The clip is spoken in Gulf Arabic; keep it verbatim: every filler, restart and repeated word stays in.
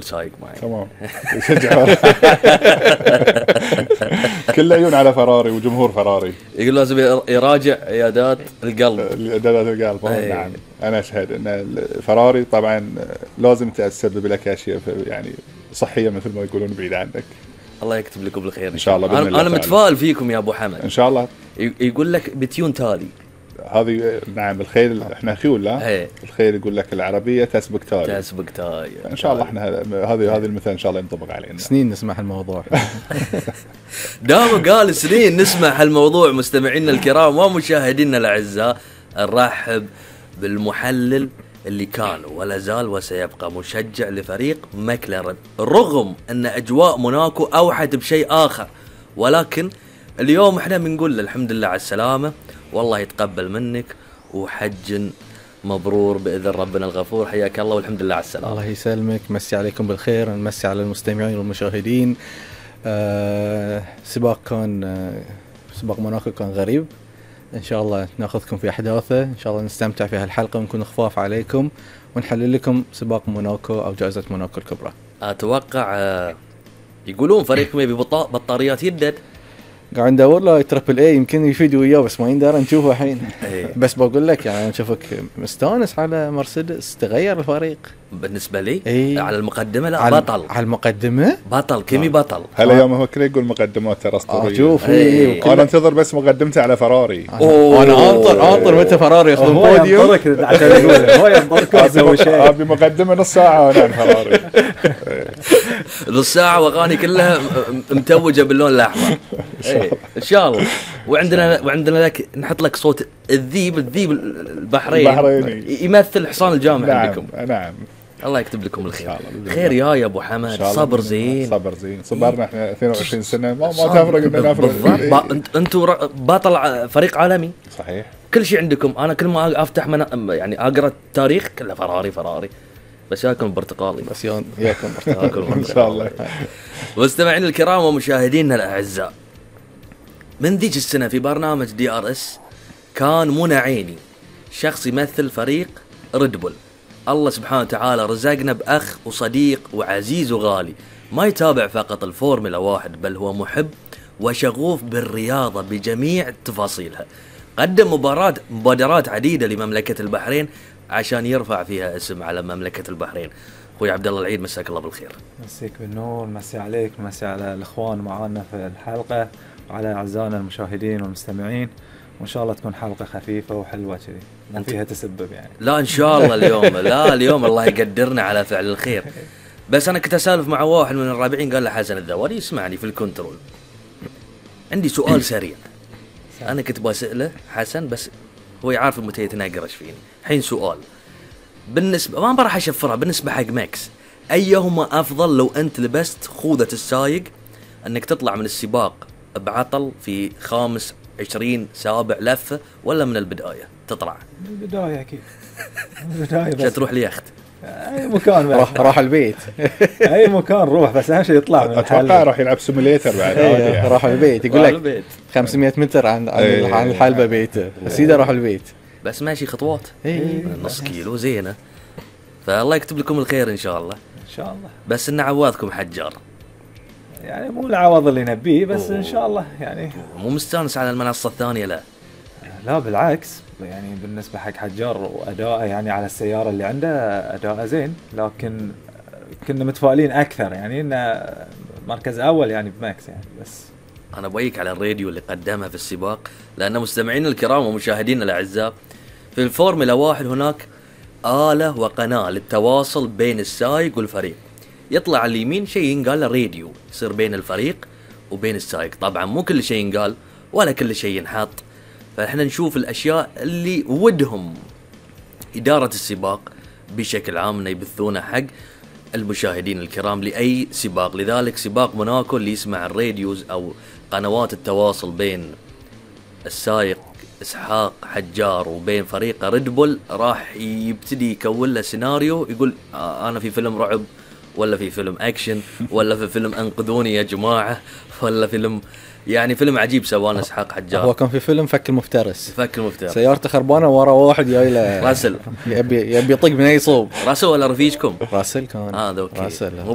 سايق معي تمام. كل عيون على فراري وجمهور فراري. يقول لازم يراجع عيادات القلب. عيادات القلب. نعم أنا أشهد أن فراري طبعا لازم تسبب لك أشياء يعني صحية مثل ما يقولون بعيد عنك. الله يكتب لكم بالخير إن شاء الله. أنا, أنا متفائل فيكم يا أبو حمد إن شاء الله. يقول لك بتيون تالي هذه نعم الخيل احنا خيول لا الخيل يقول لك العربيه تسبق تالي تسبق تالي ان شاء الله احنا هذه هذه المثال ان شاء الله ينطبق علينا. سنين نسمع الموضوع. دام قال سنين نسمع هالموضوع. مستمعينا الكرام ومشاهدينا الاعزاء نرحب بالمحلل اللي كان ولا زال وسيبقى مشجع لفريق ماكلارن رغم ان اجواء موناكو اوحت بشيء اخر، ولكن اليوم احنا بنقول الحمد لله على السلامه والله يتقبل منك وحج مبرور بإذن ربنا الغفور. حياك الله والحمد لله على السلامة. الله يسلمك. مسي عليكم بالخير. نمسي على المستمعين والمشاهدين. آه سباق كان آه سباق موناكو كان غريب. إن شاء الله نأخذكم في أحداثه، إن شاء الله نستمتع في هالحلقة ونكون خفاف عليكم ونحلل لكم سباق موناكو أو جائزة موناكو الكبرى. أتوقع آه يقولون فريقكم يبي بطاريات يدد. قاعد ندور له تربل اي يمكن يفيد وياه بس ما يندر نشوفه الحين. بس بقول لك يعني نشوفك مستانس على مرسيدس تغير الفريق. بالنسبه لي ايه؟ على المقدمه لا على بطل. على المقدمه بطل كيمي بطل. هلا يوم هو كله يقول مقدمات ترى اسطوريه. آه شوف ايه انا انتظر بس مقدمته على فراري. آه انا انطر انطر متى فراري ياخذون بوديوم عشان يقول هو ينطرك يسوي شيء. ابي مقدمه نص ساعه وانا فراري. نص ساعه واغاني كلها متوجه باللون الاحمر. ان شاء الله. وعندنا وعندنا لك نحط لك صوت الذيب الذيب البحرين البحريني يمثل حصان الجامع. نعم عندكم. نعم الله يكتب لكم الخير. خير يا يا ابو حمد. صبر زين صبر زين صبرنا احنا اثنين وعشرين سنه ما ما تفرق اننا نفرق. انتم بطل فريق عالمي صحيح. كل شيء عندكم. انا كل ما افتح من يعني اقرا التاريخ كله فراري فراري بس ياكل برتقالي بس ياكل برتقالي ان شاء الله. مستمعينا الكرام ومشاهدينا الاعزاء من ذيك السنه في برنامج دي ار اس كان منى عيني شخص يمثل فريق ريد بول. الله سبحانه وتعالى رزقنا بأخ وصديق وعزيز وغالي ما يتابع فقط الفورمولا واحد بل هو محب وشغوف بالرياضة بجميع تفاصيلها. قدم مباراة مبادرات عديدة لمملكة البحرين عشان يرفع فيها اسم على مملكة البحرين. أخوي عبد الله العيد مساك الله بالخير. مسيك بالنور. مسي عليك مسي على الإخوان معانا في الحلقة وعلى أعزائنا المشاهدين والمستمعين وإن شاء الله تكون حلقة خفيفة وحلوة كذي ما فيها تسبب يعني. لا إن شاء الله اليوم لا اليوم الله يقدرنا على فعل الخير. بس أنا كنت أسالف مع واحد من الرابعين قال له حسن الذوالي يسمعني في الكنترول عندي سؤال سريع. أنا كنت بسأله حسن بس هو يعرف متى يتناقرش فيني. حين سؤال بالنسبة ما راح أشفرها بالنسبة حق ماكس أيهما أفضل لو أنت لبست خوذة السايق أنك تطلع من السباق بعطل في خامس عشرين سابع لفة ولا من البداية تطلع؟ من البداية أكيد. من البداية بس. تروح ليخت. أي مكان راح راح البيت. أي مكان روح بس أهم شيء يطلع من الحل. أتوقع راح يلعب سيميليتر بعد. يعني. راح البيت يقول لك خمسمية متر عن عن, عن الحلبة بيته بس إذا راح البيت. بس ماشي خطوات. إيه. نص كيلو زينة. فالله يكتب لكم الخير إن شاء الله. إن شاء الله. بس إن عوضكم حجار. يعني مو العوض اللي نبيه بس أوه. إن شاء الله يعني. مو مستانس على المنصة الثانية لا. لا بالعكس يعني بالنسبة حق حجار وأداءه يعني على السيارة اللي عنده أداءه زين لكن كنا متفائلين أكثر يعني إنه مركز أول يعني بماكس يعني. بس أنا بويك على الراديو اللي قدمها في السباق لأن مستمعين الكرام ومشاهدين الأعزاء في الفورمولا واحد هناك آلة وقناة للتواصل بين السائق والفريق. يطلع على اليمين شيء ينقال راديو يصير بين الفريق وبين السائق. طبعا مو كل شيء ينقال ولا كل شيء ينحط فإحنا نشوف الأشياء اللي ودهم إدارة السباق بشكل عام يبثونه حق المشاهدين الكرام لأي سباق. لذلك سباق موناكو اللي يسمع الراديوز أو قنوات التواصل بين السائق إسحاق حجار وبين فريق ريد بول راح يبتدي يكون له سيناريو يقول آه أنا في فيلم رعب ولا في فيلم اكشن ولا في فيلم انقذوني يا جماعه ولا فيلم يعني فيلم عجيب سواه اسحاق حجار. هو كان في فيلم فك المفترس. فك المفترس سيارته خربانه ورا واحد جاي له راسل يبي يبي يطق من اي صوب. راسل ولا رفيجكم؟ راسل كان اه اوكي راسل